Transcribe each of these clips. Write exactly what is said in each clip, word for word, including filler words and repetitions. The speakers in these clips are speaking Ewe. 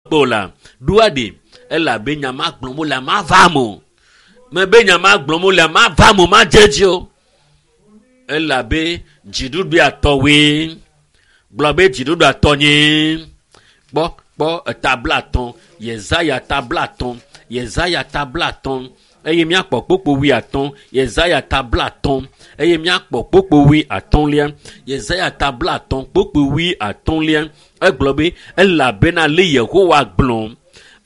kpɔ la ɖoa ɖe elabe nyama gblɔm wole ma va mo mebe nyama gblɔm wole ma va mo ma dze dzi o elabe dziɖuɖua tɔwoe gblɔ be dziɖuɖua tɔ nye kpɔ kpɔ etabla atɔ̃ yesaya tabla atɔ̃ yesaya tabla atɔ̃ eye míakpɔ kpokpo wui atɔ̃ yesaya tabla atɔ̃ eye míakpɔ kpokpo wui atɔ̃lia yesaya tabla atɔ̃ kpokpo wui atɔ̃lia egblɔ be elabena le yehowa gblɔ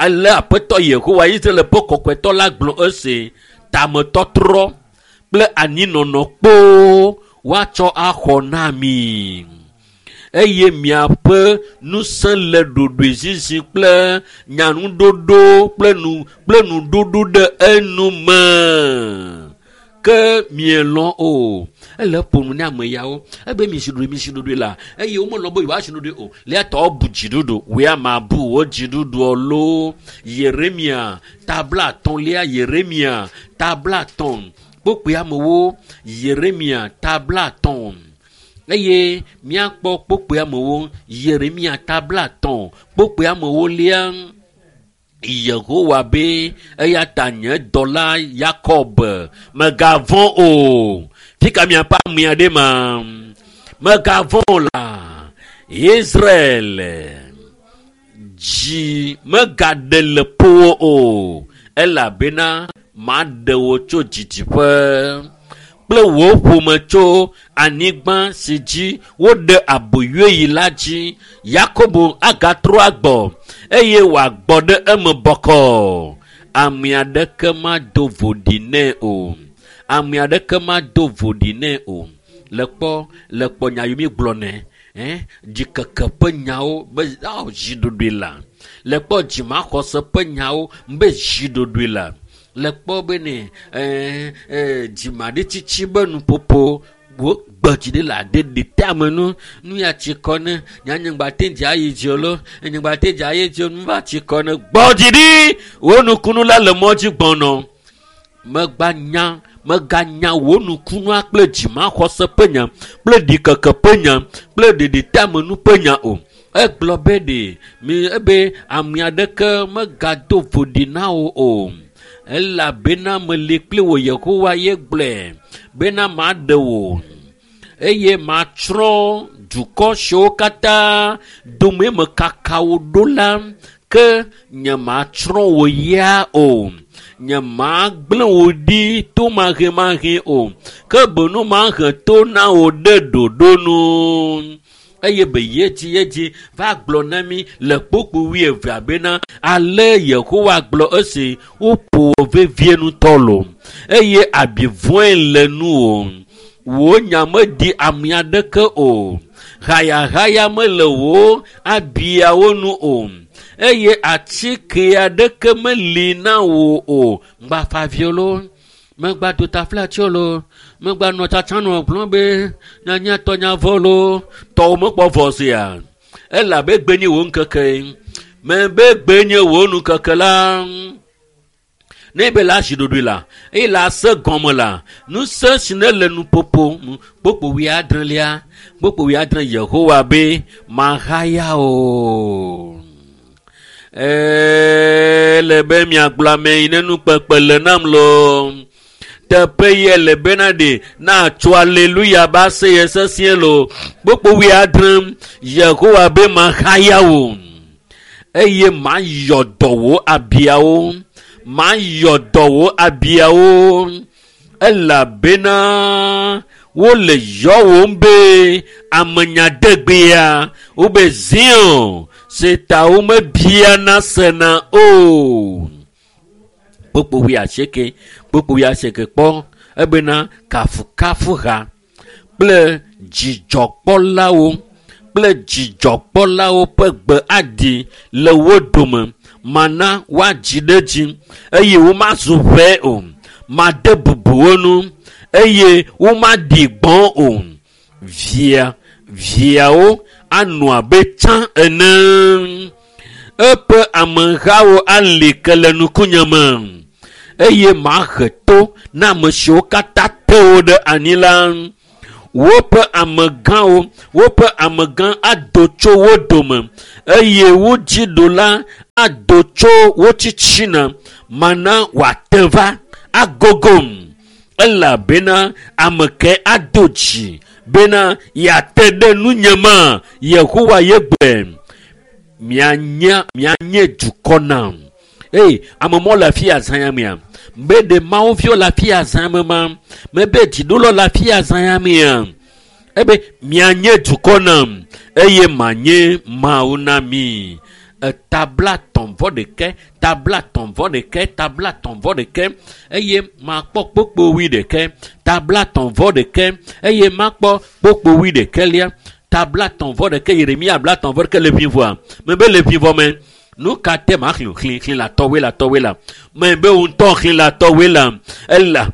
ale aƒetɔ yehowa israel ƒe kɔkɔetɔ la gblɔ ese tametɔtrɔ kple anyinɔnɔ kpoo woatsɔ axɔ na mi eye miaƒe ŋusẽ le ɖoɖoezizi kple nyanuɖoɖo kple nu kple nuɖoɖo ɖe enu me ke mielɔ o ele ƒo nu ne ame yawo ebe mi si ɖoɖoe mi si ɖoɖoe la eye womelɔ be yewoasi ɖoɖoe o le tɔ bu dziɖuɖu wòya ma bu wo dziɖuɖuɔ loo yeremia tabla atɔ̃lia yeremia tabla atɔ̃ kpokpoe amewo yeremia tabla atɔ̃ eye míakpɔ kpokpoe amewo yeremia tabla atɔ̃ kpokpoe amewo lia yehowa be eya ta nye dɔla yakob megavɔ̃ o fika miaƒe amea ɖe ma megavɔ̃ o la israel dzi megaɖe le ƒowò o elabena maɖe wò tso didiƒe kple wò ƒome tso anyigba si dzi woɖe aboyoe yi la dzi yakobo agatrɔ agbɔ eye wòagbɔ ɖe eme bɔkɔ ame aɖeke mado voɖi nɛ o ame aɖeke mado voɖi nɛ o le kpɔ le kpɔ nya yi mi gblɔ nɛ eh dzikeke ƒe nyawo be aw dziɖoɖoe la le kpɔ dzimaxɔse ƒe nyawo be dziɖoɖoe la le kpɔ be ne eh, eh, dzimaɖitsitsi be nuƒoƒo wo gbe dzi ɖe le aɖe ɖe te ame nu nu ya tsi kɔ ne nyanyigba te dzi ayi dzi o lo enyigba te dzi ayi dzi o nu va tsi kɔ ne gbɔ dzi ɖi wo nukunu la le mɔ dzi gbɔnɔ megba nya meganya wò nukunua kple dzimaxɔse ƒe nya kple ɖikeke ƒe nya kple ɖeɖiteamenu ƒe nya o egblɔ be ɖe mi ebe ame aɖeke megado voɖi na wò o elabena meli kpli wò yehowa ye gblɔe bena maɖe wò eye matsrɔ̃ dukɔ siwo katã dome mekaka wò ɖo la ke nyematsrɔ̃ wò ya o nyemagblẽ wò ɖi tomahemahe o ke benu mahe to na wò ɖe ɖoɖo nu eye be yedzi yedzi va gblɔ na mi le kpokpo wuievea bena ale yehowa gblɔ esi woƒo wò vevie ŋutɔ lo eye abi vɔ̃e le nu o wò nya meɖi ame aɖeke o hayahaya mele wò abiawo nu o eye atike aɖeke meli na wò o ŋgbafaviwo lo megba do taflatsi lo megba nɔ tsatsa nɔ gblɔ be nyanya tɔnya vɔ lo tɔwo mekpɔ vɔ sia elabe gbe nye wò ŋkeke mebe gbe nye wò nukeke la ne be la zi ɖoɖoe la eye la se gɔme la ŋusẽ si ne le nuƒoƒo nu kpokpo wuiadrelia kpokpo wuiadre yehowa be mahaya o ele be miagblɔ ame yi ne nukpekpe le nam lo teƒe ye le bena ɖe natso aleluya ba se ye sesĩe lo kpokpo wuiadre yehowa be mahaya o eye mayɔ dɔ wò abiawo mayɔ dɔ wò abiawo elabena wole yɔwòm be amenyadegbea wobe zion si ta womebiana sena o kpokpo wuiasieke kpokpo wuiasieke kpɔ ebena kafukafuha kple dzidzɔkpɔlawo kple dzidzɔkpɔlawo ƒe gbe aɖi le wo dome mana woadzi ɖe dzi eye womazu ʋɛ o made bubu wo nu eye womaɖi gbɔ̃ o via viawo anɔ abe tsã ene eƒe amehawo ali ke le nukunye me eye mahe to na ame siwo katã te wo ɖe anyi la Woƒe amegãwo, woƒe amegã ado tso wo dome eye wo dziɖula ado tso wo tsitsina. Mana wòate va agogom elabena ame ke ado dzi bena yeate ɖe nunye ma. Yehowa ye gblɔe. Mianye mianye dukɔ nam. Eye ame mɔ le afi azã ya mea? Be ɖe Mawu viwo le afi azã me ma? Mebe dziɖula le afi azã ya mea? Ebe mianye dukɔ nam eye manye Mawu na mi. Etabla tɔ̃ vɔ ɖeke, tabla tɔ̃ vɔ ɖeke, tabla tɔ̃ vɔ ɖeke eye makpɔ kpokpo wui ɖeke, tabla tɔ̃ vɔ ɖeke eye makpɔ kpokpo wui ɖekelia. Tabla tɔ̃ vɔ ɖeke Yeremia bla tɔ̃ vɔ ɖeke le ʋivɔa. Mebe le ʋivɔ me. Nu ka te ma xlẽ xlẽ xlẽ la tɔwoe la tɔwoe la. Mebe ŋutɔ xlẽ la tɔwoe la. Ela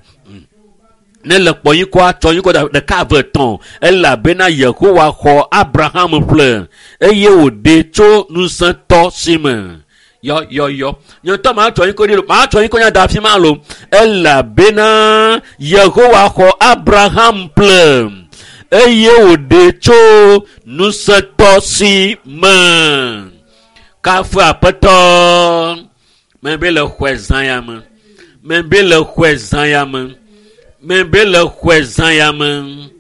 ne le kpɔ yi kɔ atsɔ yi kɔ ɖeka eve tɔ̃ elabena Yehowa xɔ Abraham ƒle eye wòɖe tso ŋusẽtɔ si me. Yɔ yɔ yɔ. Nye ŋutɔ ma tsɔ yi kɔ ɖi lo, ma tsɔ yi kɔ nya da afi ma lo. Elabena Yehowa xɔ Abraham ƒle eye wòɖe tso ŋusẽtɔ si me. Kafu aƒetɔ. Mebe le xɔe zã ya me. Mebe le xɔe zã ya me. Mebe le xɔe zã ya me.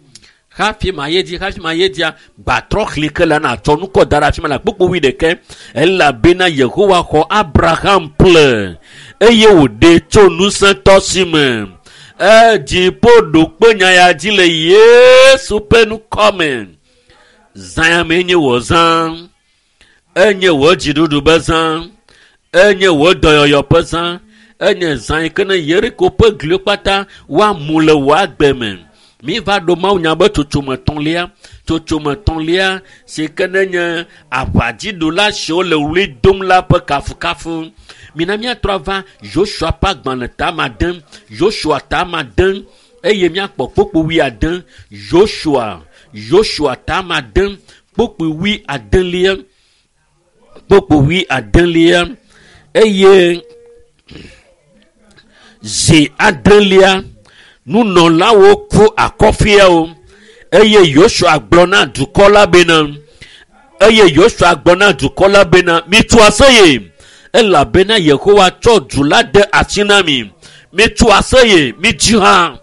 Hafi ma ye dzi, hafi ma ye dzia, gbatrɔ xlẽ ke la natsɔ nukɔ da ɖe afi ma le kpokpo wui ɖeke. Elabena Yehowa xɔ Abraham ƒle eye wòɖe tso ŋusẽtɔ si me. Edziƒo ɖo kpe nya ya dzi le Yesu ƒe ŋkɔ me. Zã ya mee nye wò zã. Enye wò dziɖuɖu be zã. Enye wò dɔyɔyɔ ƒe zã. Enye zã yi ke ne Yeriko ƒe gliwo kpata woamu le wò agbe me. Mi va ɖo Mawu nya be tsotsome tɔ̃lia, tsotsome tɔ̃lia si ke ne nye aʋadziɖula siwo le ɣli dom la ƒe kafukafu. Mina míatrɔ ava Yosua ƒe agbalẽ tame ade, Yosua tame ade eye míakpɔ kpokpo wui ade. Yosua, Yosua tame ade, kpokpo wui adelia, kpokpo wui adelia eye zi adelia nunɔlawo ku akɔfiawo eye Yosua gblɔ na dukɔ la bena eye Yosua gblɔ na dukɔ la bena mitso aseye elabena Yehowa tsɔ du la de asi na mi. Mitso aseye, midzi ha,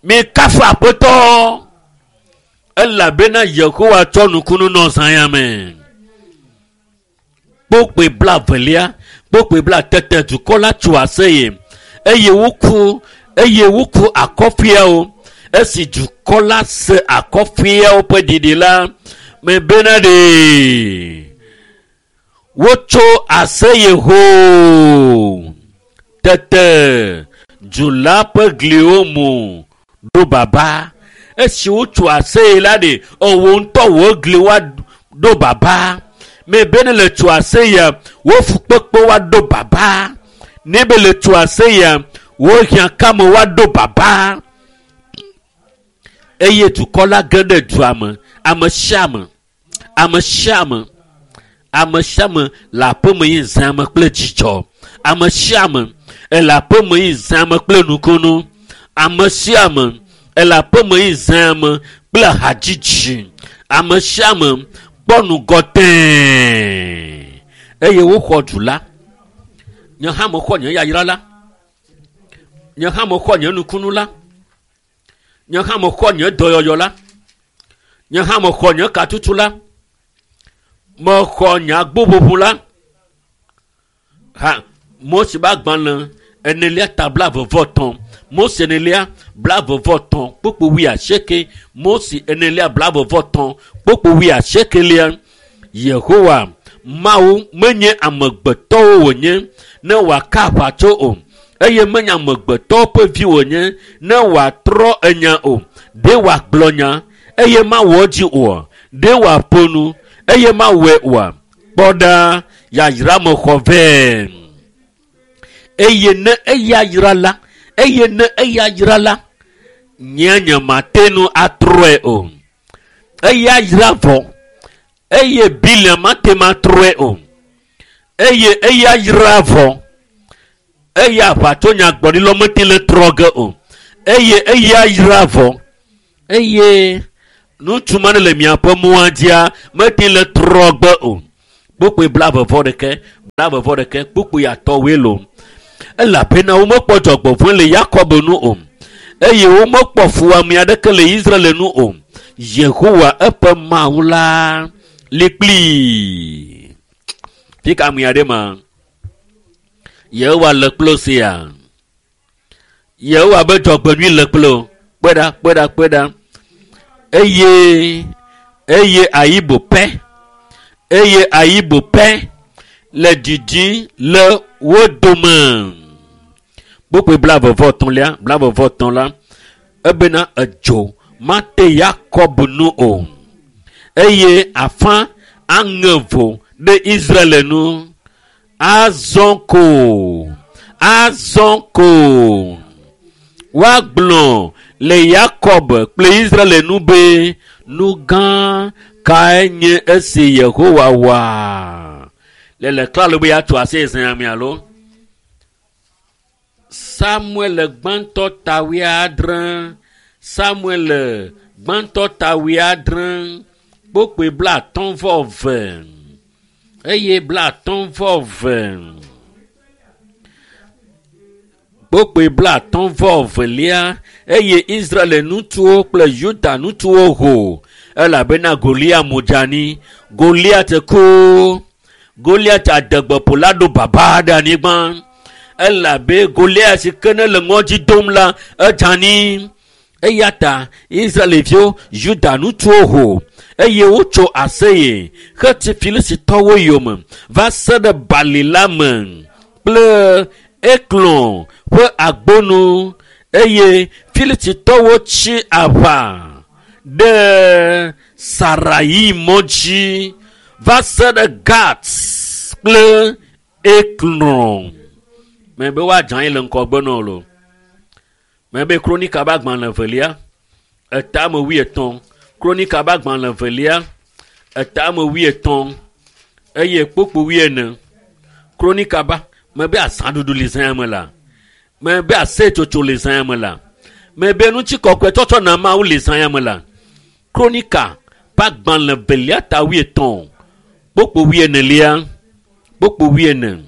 mikafu aƒetɔ elabena Yehowa tsɔ nukunu nɔ zã ya me. Kpokpoe bla velia, kpokpoe bla tete dukɔ la tso aseye eye woku eye woku akɔfiawo. Esi dukɔ la se akɔfiawo ƒe ɖiɖi la, mebena ɖe wotso aseye hoo. Tete du la ƒe gliwo mu ɖo baba. Esi wotso aseye la ɖe, ewò ŋutɔ wò gliwo ɖo baba. Mebe ne le tso aseyea, wò fukpekpe woaɖo baba. Ne be le tso aseyea, wò hiãkame woaɖo baba. Eye dukɔ la ge ɖe dua me. Ame sia ame, ame sia ame, ame sia ame le aƒeme yi zã me kple dzidzɔ. Ame sia ame ele aƒeme yi zã me kple nukunu. Ame sia ame ele aƒeme yi zã me kple hadzidzi. Ame sia ame kpɔ nugɔ tẽe eye woxɔ du la. Nye hã mexɔ nye yayra la. Nye hã mexɔ nye nukunu la. Nye hã mexɔ nye dɔyɔyɔ la. Nye hã mexɔ nye katutu la. Mexɔ nye agboʋuʋu la. Ha Mose ƒe agbalẽ enelia ta blaeve vɔ etɔ̃. Mose enelia blaeve vɔ etɔ̃ kpokpo wui asieke. Mose enelia blaeve vɔ etɔ̃ kpokpo wui asiekelia. Yehowa Mawu menye amegbetɔwo wònye ne wòaka aʋatso o eye menye amegbetɔwo ƒe vi wònye ne wòatrɔ enya o. Ɖe wòagblɔ nya eye mawɔ edzi oa? Ɖe wòaƒo nu eye mawɔe oa? Kpɔ ɖa, yayra mexɔ vɛ. Eye ne eya yra la, eye ne eya yra la, nye nye mate ŋu atrɔe o. Eya yra vɔ eye Bileam mate ŋu atrɔe o. Eye eya yra vɔ eye aʋatsonyagbɔɖilawo mete le trɔ ge o. Eye eya yra vɔ Eye ŋutsu ma ne le miaƒe mɔa dzia mete le trɔ gbe o. Kpukpui blaeve vɔ ɖeke, blaeve vɔ ɖeke, kpukpui atɔ̃woe lo. Elabena womekpɔ dzɔgbevɔ̃e le Yakob nu o, eye womekpɔ fuwɔame aɖeke le Israel nu o. Yehowa eƒe Mawu la li kplii. Fi ka ame aɖe ma? Yehowa le kple sia. Yehowa be dzɔgbenyui le kple o. Kpɔe ɖa, kpɔe ɖa, kpɔe ɖa. Eye eye ayibo pɛ, eye ayibo pɛ le didi le wo dome. Kpukpui blaeve vɔ etɔ̃lia, blaeve vɔ etɔ̃ la, ebena edzo mate Yakob nu o, eye afã aŋe vo ɖe Israel nu. Azɔ ko, azɔ ko woagblɔ le Yakob kple Israel nu be nu gã kae nye esi Yehowa wɔa. Le le klalo be yeatso asi zã me alo? Samuel gbãtɔ ta wuiadre, Samuel gbãtɔ ta wuiadre, kpukpui blaatɔ̃ vɔ eve, eye blaatɔ̃ vɔ eve, kpukpui blaatɔ̃ vɔ evelia, eye Israel ŋutsuwo kple Yuda ŋutsuwo ho, elabena Goliat mu dze anyi. Goliat ku. Goliat adegbeƒola ɖo baba ɖe anyigba. Elabe Goliat si ke ne le ŋɔdzi dom la, edze anyi. Eya ta Israelviwo, Yuda ŋutsuwo ho, eye wotso aseye hetsi Filistitɔwo yome va se ɖe bali la me kple Eklon ƒe agbonu, eye Filistitɔwo tsi aʋa ɖe Sarai mɔ dzi va se ɖe Gat kple Eklon. Mebe woadze anyi le ŋgɔgbe na wo lo. Mebe Kronika ƒe agbalẽ evelia, etame wuietɔ̃. Kronika ƒe agbalẽ evelia, etame wuietɔ̃, eye kpukpui wuiene. Kronika ba, mebe azãɖuɖu le zã me la. Mebe aseyetsotso le zã me la. Mebe ŋutikɔkɔe tsɔtsɔ na Mawu le zã me la. Kronika ƒe agbalẽ evelia ta wuietɔ̃, kpukpui wuienelia, kpukpui wuiene.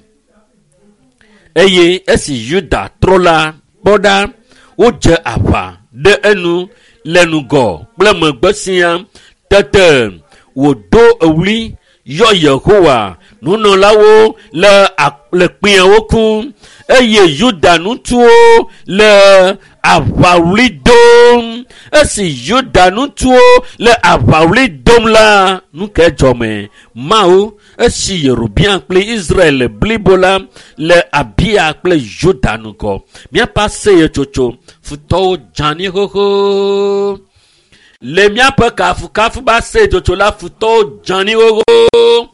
Eye esi Yuda trɔ la, kpɔ ɖa, wodze aʋa ɖe enu le ŋgɔ kple megbe sia. Tete wòdo ɣli yɔ Yehowa nunɔlawo le le kpẽawo kum, eye Yuda ŋutsuwo le aʋaɣli dom. Esi Yuda ŋutsuwo le aʋaɣli dom la, nu ke dzɔme? Mawu esi Yerobeam kple Israel blibo la le Abia kple Yuda ŋgɔ. Míaƒe aseyetsotso futɔwo dze anyi xoxo. Le míaƒe kafukafu be aseyetsotso la, futɔwo dze anyi xoxo.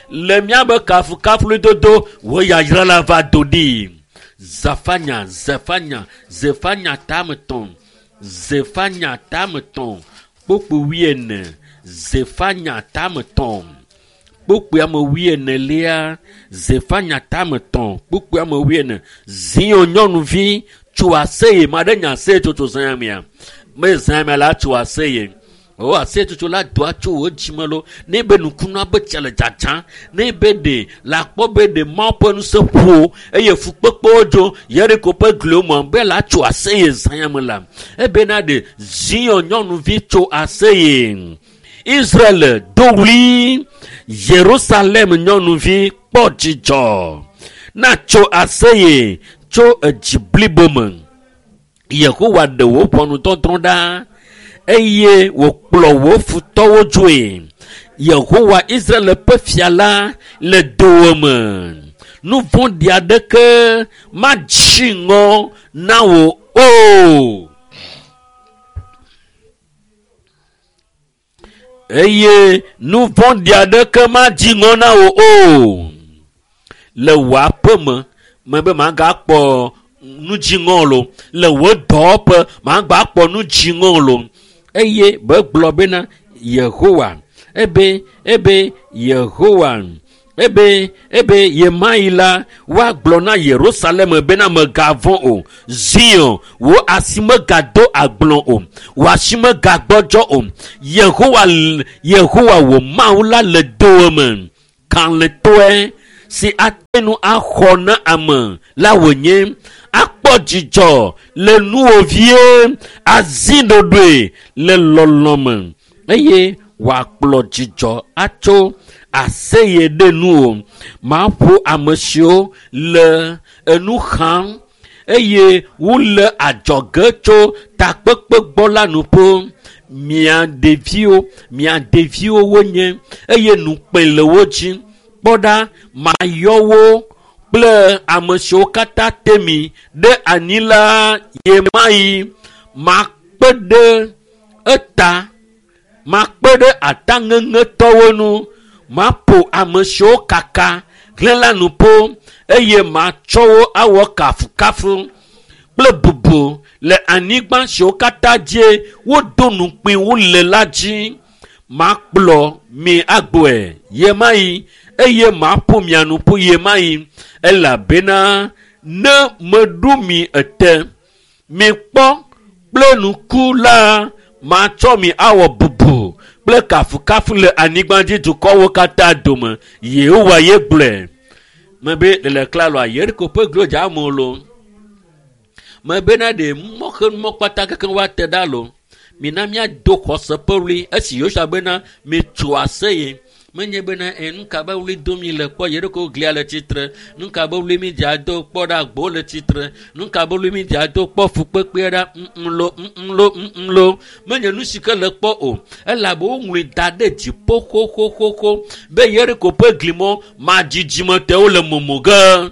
Le míaƒe kafukafu dodo, wo yayra la va do ɖi. Zefanya, Zefanya, Zefanya tame tɔ̃, Zefanya tame tɔ̃, kpukpui wuiene, Zefanya tame tɔ̃, kpukpui ame wuienelia, Zefanya tame tɔ̃, kpukpui ame wuiene. Zion nyɔnuvi tso aseye, ma ɖe nya aseyetsotso zã mea. Me zã mea la tso aseye. O aseyetsotso la doa tso wo dzime lo. Ne be nukunua be tsia le dzadzã, ne be ɖe la kpɔ be ɖe Mawu ƒe ŋusẽ ƒo eye fukpekpewo dzo Yeriko ƒe gliwo me be la tso aseye zã me la. Ebena ɖe Zion nyɔnuvi tso aseye. Israel do ɣli, Yerusalem nyɔnuvi kpɔ dzidzɔ. Na tso aseye tso edzi blibo me. Yehowa ɖe wò ʋɔnudɔdrɔ̃ ɖa, eye wòkplɔ wò futɔwo dzoe. Yehowa Israel ƒe fia la le dowòme. Nu vɔ̃ɖi aɖeke madzi ŋɔ na wò o. Eye nu vɔ̃ɖi aɖeke madzi ŋɔ na wò o. Le wò aƒe me, mebe magakpɔ nu dziŋɔ lo. Le wò dɔwɔƒe, magakpɔ nu dziŋɔ lo. Eye begblɔ bena Yehowa, ebe, ebe Yehowa Ebe ebe yemayi la woagblɔ na Yerusalem bena megavɔ̃ o. Zion, wò asi megado agblɔ o. Wò asi megagbɔdzɔ o. Yehowa Yehowa wò Mawu la le dowòme. Kalẽtɔe si ate ŋu axɔ na ame la wònye. Akpɔ dzidzɔ le nuwò vie, azi ɖoɖoe le lɔlɔ̃ me eye wòakplɔ dzidzɔ atso aseye ɖe nuwò. Maƒo ame siwo le enu xam eye wole adzɔge tso takpekpe gbɔ la nu ƒo. Mia ɖeviwo, mia ɖeviwo wonye eye nukpe le wo dzi. Kpɔ ɖa, mayɔ wo kple ame siwo katã te mi ɖe anyi la yemayi. Makpe ɖe eta, makpe ɖe ataŋeŋetɔwo ŋu. Maƒo ame siwo kaka hlẽ la nu ƒo eye matsɔ wo awɔ kafukafu kple bubu le anyigba siwo katã dzi wodo nukpui wo le la dzi. Makplɔ mi agbɔe yemayi eye maƒo mia nu ƒu yemayi elabena ne meɖu mi ete, mikpɔ kple nuku la, matsɔ mi awɔ bubu kple kafukafu le anyigba dzi dukɔwo katã dome. Yehowa ye gblɔe. Mebe le klaloa Yeriko ƒe glo dza amewo lo. Mebena ɖe mɔxenumɔ kpata kekeŋ woate ɖa lo. Mina míado xɔse ƒe ɣli esi Yosua bena mitso aseye. Menye bena e nu ka be ɣli dom mi le kpɔ Yeriko glia le tsitre. Nu ka be ɣli mi dza do kpɔ ɖa agbo le tsitre. Nu ka be ɣli mi dza do kpɔ fukpekpe ɖa ŋlo ŋlo ŋlo. Menye nu si ke le kpɔ o. Elabe woŋlɔe da ɖe dziƒo xoxoxoxo be Yeriko ƒe glimɔ madzidzimetɔwo le momo ge.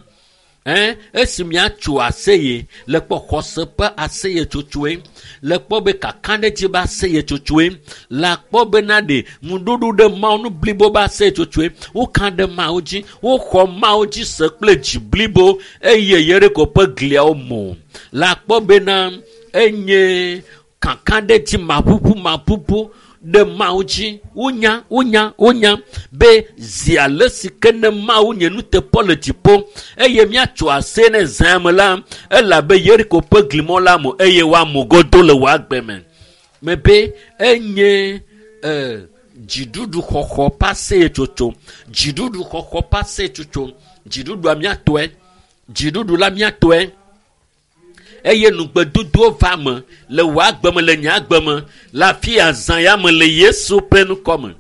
Ɛn, esi miatso aseye le kpɔ xɔse ƒe aseye tsotsoe, le kpɔ be kakaɖedzi be aseye tsotsoe, le akpɔ bena ɖe ŋuɖoɖo ɖe Mawu nu blibo be aseye tsotsoe, woka ɖe Mawu dzi, woxɔ Mawu dzi se kple dzi blibo eye Yeriko ƒe gliawo mo. Le akpɔ bena enye kakaɖedzi maʋuʋu maʋuʋu ɖe Mawu dzi. Wonya, wonya, wonya be zi ale si ke ne Mawu nye nuteƒe le dziƒo eye míatso ase ne zã me la, elabe Yeriko ƒe glimɔ la mo eye woamu godo le wò agbe me. Mebe enye e, dziɖuɖu xɔxɔ ƒe aseyetsotso, dziɖuɖu xɔxɔ ƒe aseyetsotso, dziɖuɖua míatɔe, dziɖuɖu la míatɔe. Eye nugbedodowo va me le wò agbe me, le nye agbe me, le afi ya zã ya me le Yesu ƒe ŋkɔ me.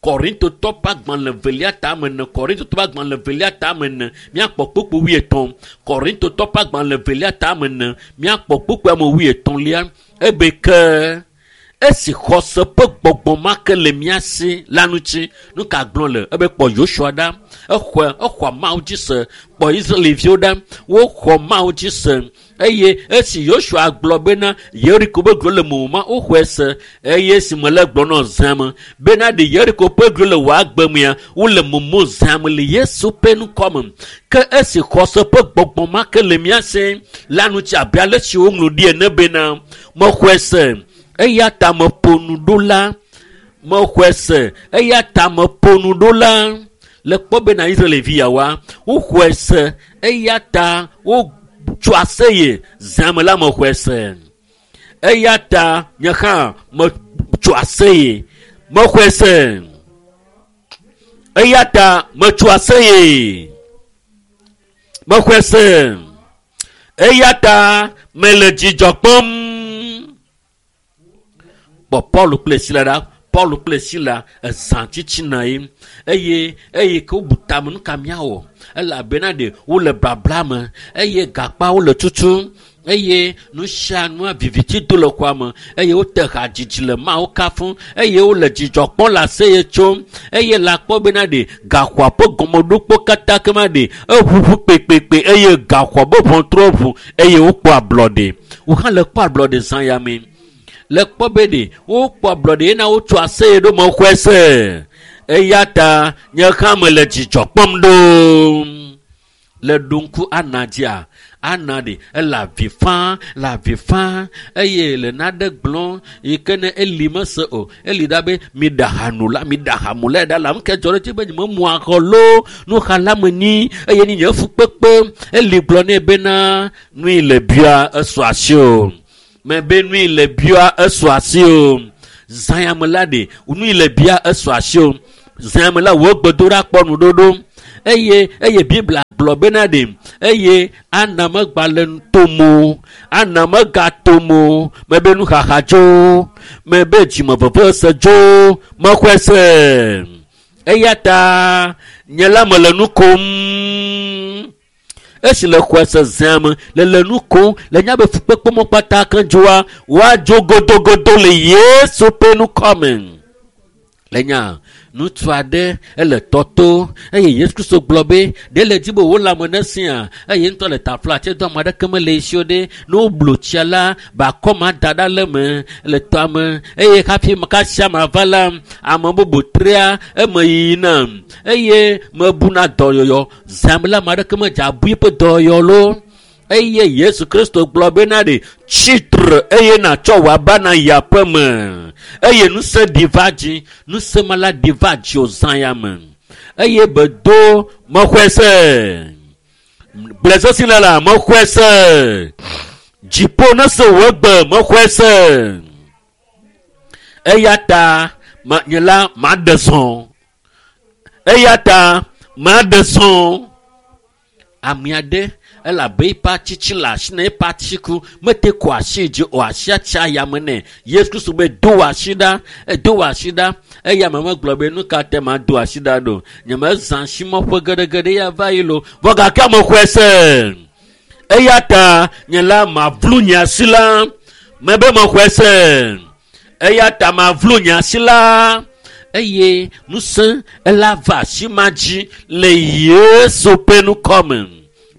Korintotɔ ƒe agbalẽ velia tame ene, Korintotɔ ƒe agbalẽ velia tame ene, míakpɔ kpukpui wuietɔ̃. Korintotɔ ƒe agbalẽ velia tame ene, míakpɔ kpukpui ame wuietɔ̃lia. Ebe ke esi xɔse ƒe gbɔgbɔ ma ke le mía si la ŋuti, nu ka gblɔ le? Ebe kpɔ Yosua ɖa, exɔe, exɔ Mawu dzi se. Kpɔ Israelviwo ɖa, woxɔ Mawu dzi se. Eye esi Yosua gblɔ bena Yeriko ƒe glo le momo ma, woxɔe se. Eye esi mele gblɔ nɔ zã me bena ɖe Yeriko ƒe glo le wò agbe mea, wole momo zã me le Yesu ƒe ŋkɔ me. Ke esi xɔse ƒe gbɔgbɔ ma ke le mía si la ŋuti abe ale si woŋlɔ ɖi ene bena mexɔe se eya ta meƒo nu ɖo la, mexɔe se eya ta meƒo nu ɖo la. Le kpɔ bena Israelvi yawoa, woxɔe se eya ta wo tso aseye zã me la mexɔe se. Eya ta nye hã metso aseye, mexɔe se. Eya ta metso aseye, mexɔe se. Eya ta mele dzidzɔ kpɔm. Kpɔ Paul kple Sila ɖa. Paul kple Sila ezã tsitsina ye eye eye ke wobu tame nu ka míawɔ elabena ɖe wole babla me eye gakpawo le tutum eye nu sia nua viviti do le xɔa me eye wote hadzidzi le Mawu kafum eye wole dzidzɔ kpɔm le aseye tsom eye le akpɔ bena ɖe gaxɔa ƒe gɔmeɖokpo katã kema ɖe eʋuʋu kpekpekpe eye gaxɔa ƒe ʋɔtruwo ʋu eye wokpɔ ablɔɖe. Wo hã le kpɔ ablɔɖe zã ya me. Le kpɔ be ɖe wokpɔ ablɔɖe yena wotso aseye ɖo mexɔe se. Eya ta nye hã mele dzidzɔ kpɔm ɖo. Le ɖoŋku ana dzia ana ɖe ele avi fã le avi fã eye le naɖe gblɔ yi ke ne eli mese o eli ɖa be mi ɖe hanu la mi ɖe hamu la ɖa la ŋu ke dzɔ ɖe dzi be nye memu axɔ lo nuxala me nyi eye ni nye fukpekpe eli gblɔ nɛ bena nui le bia esɔ asi o mɛ be nui le bia esɔ asi o zãyame la ɖe nui le bia esɔ asi o zãyame la wò gbedoɖa kpɔ nuɖoɖo eye eye Biblia gblɔ bena ɖe eye ana megba le tomo ana megatomo mebe nuxaxa dzo mebe dzimeveve se dzo mexɔe se eya ta nye la mele nu kom esi le xɔe se zãme le le nu kom le nya be fukpekpe mɔ kpata ke dzoa woadzo godogodo le Yesu ƒe ŋkɔme. Le nya ŋutsu aɖe ele tɔto eye Yesu Kristo gblɔ be ɖe le dzi be wò lãme ne sia eye ŋutɔ le tafla tse do ame aɖeke mele esi o ɖe ne woblo tsia la bakɔ ma da ɖa le me le tɔa me eye hafi kasia ma va la ame bubu trea eme yina eye mebuna dɔyɔyɔ zãme la ame aɖeke medze abu eƒe dɔyɔyɔ lo eye Yesu Kristo gblɔ bena ɖe tsitre eye nàtsɔ wò aba na yi aƒe me eye ŋusẽ ɖi va dzi ŋusẽ ma la ɖi va dzi o zã ya me eye bedo mexɔe se gblẽ sesi le la mexɔe se dziƒo ne se wò gbe mexɔe se eya ta ma nye la maɖe zɔ eya ta maɖe zɔ ame aɖe elabe eƒe atsitsi le asi na eƒe atiku mete kɔ asi dzi o asia tsi ayame nɛ Yesu Kristo be do wò asi ɖa edo wò asi ɖa eya me megblɔ be nu ka te ma do asi ɖa ɖo nye mezã asimɔƒe geɖegeɖe ya va yi lo vɔ gake ame xɔe se eya ta nye la mavlu nye asi la mebe mexɔe se eya ta mavlu nye asi la eye ŋusẽ ela va asi ma dzi le Yesu ƒe ŋkɔme.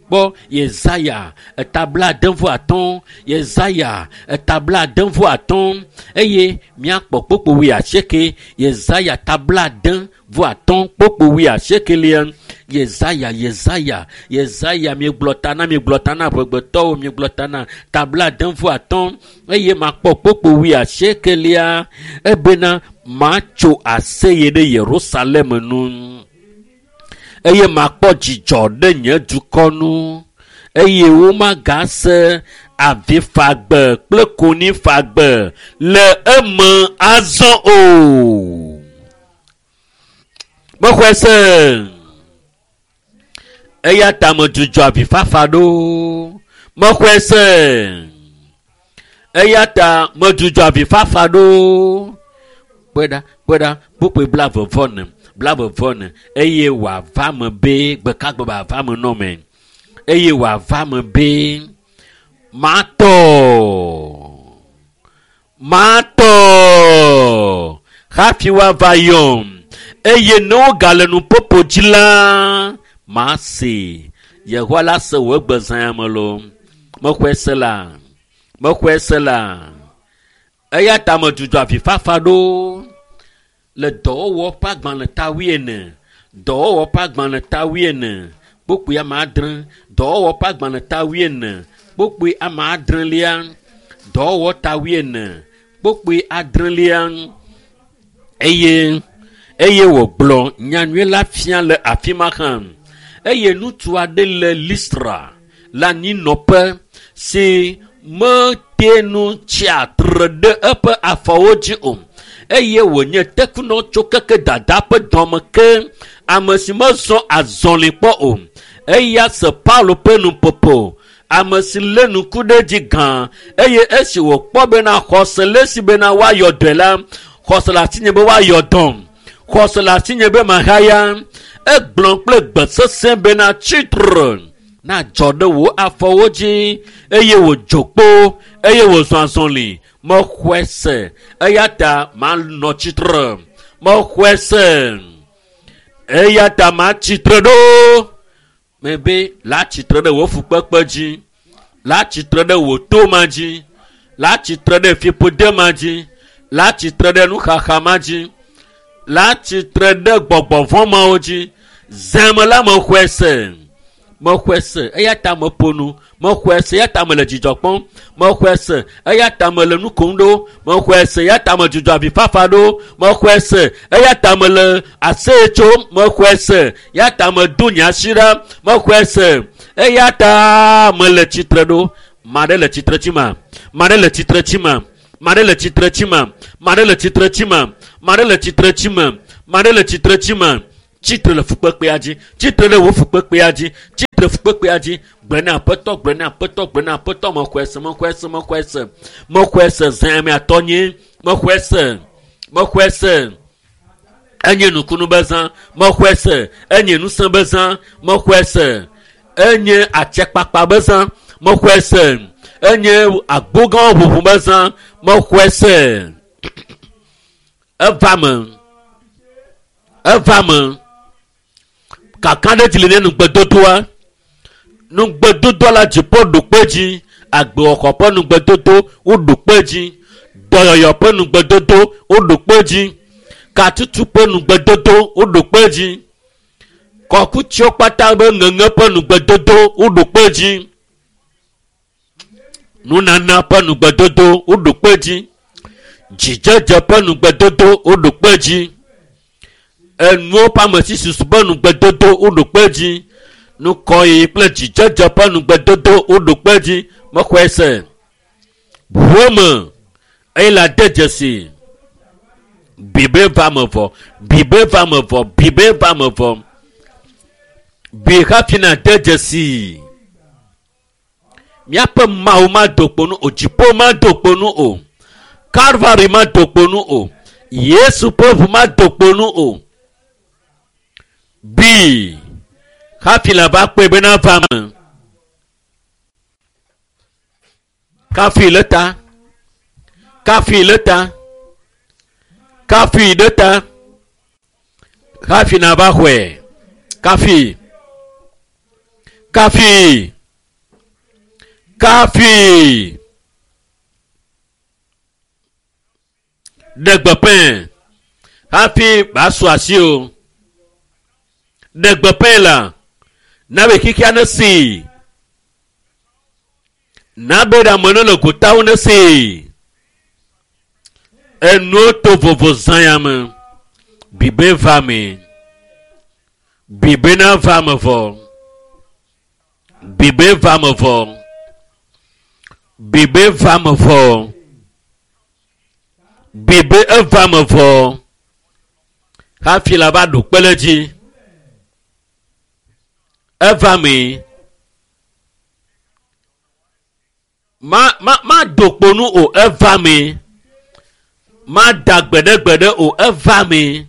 Kpɔ Yesaya etabla ade vɔ atɔ̃ Yesaya etabla ade vɔ atɔ̃ eye míakpɔ kpokpo wuiasieke Yesaya tabla ade vɔ atɔ̃ kpokpo wuiasiekelia Yesaya Yesaya Yesaya miegblɔ ta na miegblɔ ta na amegbetɔwo miegblɔ ta na tabla ade vɔ atɔ̃ eye makpɔ kpokpo wuiasiekelia ebena matso aseye ɖe Yerusalem nu eye makpɔ dzidzɔ ɖe nye dukɔ nu eye womagase avifagbe kple konifagbe le eme azɔ o. Mexɔe se eya ta medzudzɔ avifafa ɖo. Mexɔe se eya ta medzudzɔ avifafa ɖo. Kpɔe ɖa kpɔe ɖa kpukpui blaeve vɔ ene blaeve vɔ ene eye wòava me be gbekagbe wòava me nɔ me eye wòava me be matɔ matɔ hafi woava yɔm eye ne wogale nuƒoƒo dzi la mase Yehowa la se wò egbe zã me lo mexɔe se la mexɔe se la eya ta medzudzɔ avifafa ɖo le dɔwɔwɔ ƒe agbalẽ ta wuiene dɔwɔwɔ ƒe agbalẽ ta wuiene kpukpui ame adre dɔwɔwɔ ƒe agbalẽ ta wuiene kpukpui ame adrelia dɔwɔwɔ ta wuiene kpukpui adrelia eye eye wògblɔ nyanyui la fia le afi ma hã eye ŋutsu aɖe le Listra le anyinɔƒe si mete nu tsi atre ɖe eƒe afɔwo dzi o eye wònye tekunɔ tso keke dada ƒe dɔme ke ame si mezɔ azɔli kpɔ o eya se Paulo ƒe nuƒoƒo ame si lé nuku ɖe dzi gã eye esi wòkpɔ bena xɔse le esi bena woayɔ dɔe la xɔse le asinye be woayɔ dɔm xɔse le asinye be mahaya egblɔ kple gbe sesẽ bena tsitre na dzɔ ɖe wò afɔwo dzi eye wòdzo kpo eye wòzɔ azɔli mexɔe se eya ta manɔ tsitre mexɔe se eya ta matsitre ɖo mebe la tsitre ɖe wò fukpekpe dzi la tsitre ɖe wò to ma dzi la tsitre ɖe fiƒode ma dzi la tsitre ɖe nuxaxa ma dzi la tsitre ɖe gbɔgbɔvɔ̃ mawo dzi zãme la mexɔe se Mexɔe se eya ta meƒo nu. Mexɔe se eya ta mele dzidzɔ kpɔm. Mexɔe se eya ta mele nu kom ɖo. Mexɔe se eya ta medzudzɔ avifafa ɖo. Mexɔe se eya ta mele aseye tsom. Mexɔe se eya ta medo nye asi ɖa. Mexɔe se eya ta mele tsitre ɖo. Ma ɖe le tsitre tsi ma. Ma ɖe le tsitre tsi ma. Ma ɖe le tsitre tsi ma. Ma ɖe le tsitre tsi ma. Ma ɖe le tsitre tsi ma. Ma ɖe le tsitre tsi ma. Tsitre le fukpekpea dzi. Tsitre ɖe wò fukpekpea dzi. Tsitre fukpekpea dzi. Gblɔ na Aƒetɔ, gblɔ na Aƒetɔ, gblɔ na Aƒetɔ, mexɔe se, mexɔe se, mexɔe se. Mexɔe se, zã ame atɔ nye. Mexɔe se. Mexɔe se. Enye nukunu be zã. Mexɔe se. Enye ŋusẽ be zã. Mexɔe se. Enye atsekpakpa be zã. Mexɔe se. Enye agbogãwo ʋuʋu be zã. Mexɔe se. Eva me. Eva me. Kaka ɖe dzi le ne nugbedodoa. Nugbedodoa la dziƒo ɖo kpe dzi. Agbewɔxɔ ƒe nugbedodo woɖo kpe dzi. Dɔyɔyɔ ƒe nugbedodo woɖo kpe dzi. Katutu ƒe nugbedodo woɖo kpe dzi. Kɔkutsiwo kpata be ŋeŋe ƒe nugbedodo woɖo kpe dzi. Nunana ƒe nugbedodo woɖo kpe dzi. Dzidzedze ƒe nugbedodo woɖo kpe dzi. Enuwo ƒe amesisusu ƒe nugbedodo woɖo kpe dzi. Nukɔyiyi kple dzidzedze ƒe nugbedodo woɖo kpe dzi. Mexɔe se. Ʋuwo me eye la de dzesi. Bibe va me vɔ. Bibe va me vɔ. Bibe va me vɔ. Bi hafi na de dzesi. Míaƒe Mawu mado kpo nu o. Dziƒo mado kpo nu o. Kalvari mado kpo nu o. Yesu ƒe ʋu mado kpo nu o. Bi hafi la va kpɔe bena va me. Kafi le ta. Kafi le ta. Kafi ɖe ta. Hafi na va xɔe. Kafi. Kafi. Kafi. Ɖe gbeƒãe. Hafi ba su asi o. Ɖe gbeƒãe la. Na be xixia ne si. Na be ɖe ame ne le gotawo ne si. Enuwo to vovo zã ya me. Bibe va me. Bibe na va me vɔ. Bibe va me vɔ. Bibe va me vɔ. Bibe eva me vɔ. Hafi la va ɖo kpe ɖe dzi. Eva me. Ma ma ma do kpo nu o. Eva me. Ma da gbeɖegbeɖe o. Eva me.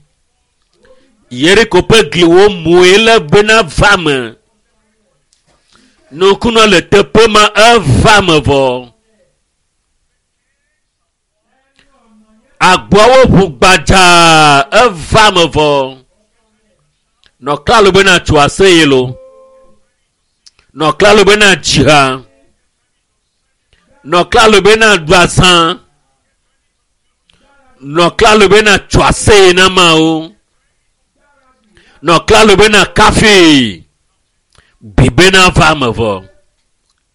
Yeriko ƒe gliwo mue le bena va me. Nukunɔ le teƒe ma eva me vɔ. Agboawo ʋu gbadzaa eva me vɔ. Nɔ klalo bena tso aseye lo. Nɔ klalo bena dzi ha. Nɔ klalo bena ɖu azã. Nɔ klalo bena tso aseye na Mawu. Nɔ klalo bena kafi. Bibe na va me vɔ.